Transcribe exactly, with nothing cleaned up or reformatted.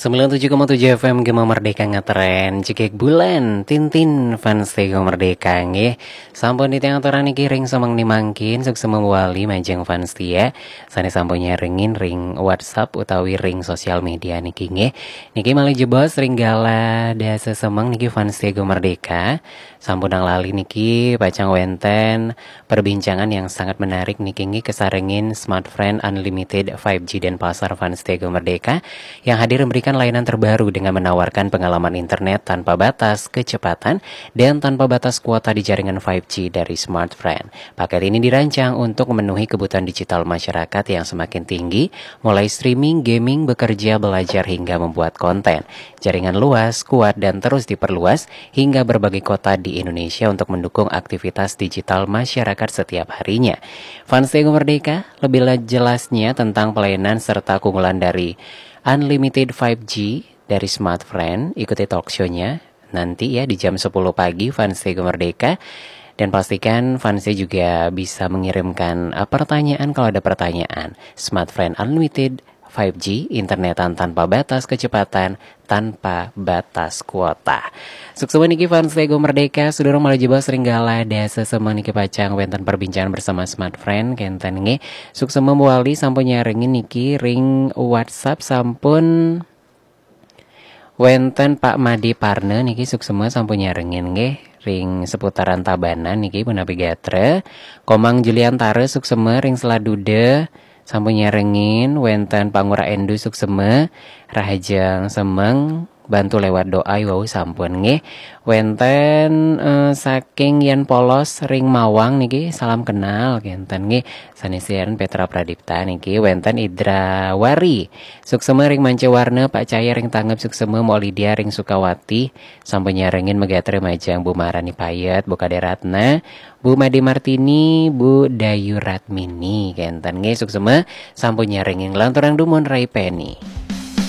Sembilan tujuh koma tujuh F M Gema Merdeka ngetren, cekek bulan, Tintin fans Tego Merdeka nggih. Sampun titiang aturang niki ring semeng ni mangkin, suksema mawali majeng fans setia. Sane sampun nyarengin ring WhatsApp utawi ring sosial media niki nggih. Niki malih jebos ring galah dasa semeng niki fans Tego Merdeka. Sampun nang lali niki pacang wenten perbincangan yang sangat menarik niki nggih, kesarengin Smartfren Unlimited five G Denpasar fans Tego Merdeka yang hadir memberikan layanan terbaru dengan menawarkan pengalaman internet tanpa batas, kecepatan, dan tanpa batas kuota di jaringan five G dari Smartfren. Paket ini dirancang untuk memenuhi kebutuhan digital masyarakat yang semakin tinggi, mulai streaming, gaming, bekerja, belajar, hingga membuat konten. Jaringan luas, kuat, dan terus diperluas hingga berbagai kota di Indonesia untuk mendukung aktivitas digital masyarakat setiap harinya. Fans Tego Merdeka, lebih la- jelasnya tentang pelayanan serta keunggulan dari Unlimited five G dari Smartfren, ikuti talk show-nya nanti ya di jam sepuluh pagi, fans Tego Merdeka. Dan pastikan fansnya juga bisa mengirimkan uh, pertanyaan kalau ada pertanyaan. Smartfren Unlimited five G, internetan tanpa batas, kecepatan tanpa batas kuota. Suksema niki fans Tego Merdeka, sedurung malih jebos ring galah dasa semeng niki pacang wenten perbincangan bersama Smartfren, kenten nggih. Suksema mawali sampun nyarengin niki ring WhatsApp sampun wenten Pak Made Parna niki suksema sampun nyarengin nggih ring seputaran Tabanan niki punapi gatra. Komang Juliantara suksema ring Selat Duda sampun nyarengin, wenten Pak Ngurah Endu suksema, rahajeng semeng, bantu lewat doa wau sampun nggih. Wenten eh, saking Yan Polos ring Mawang niki salam kenal kenten nggih. Sanesian Petra Pradipta niki wenten Idra Wari. Suksema ring Manca Warna, Pak Cahya ring Tanggep suksema, Mok Lydia ring Sukawati. Sampun nyarengin magatra majeng Bu Marani Payet, Bu Kade Ratna, Bu Made Martini, Bu Dayu Ratmini. Kenten nggih suksema sampun nyarengin, lanturang dumun Rai Peni.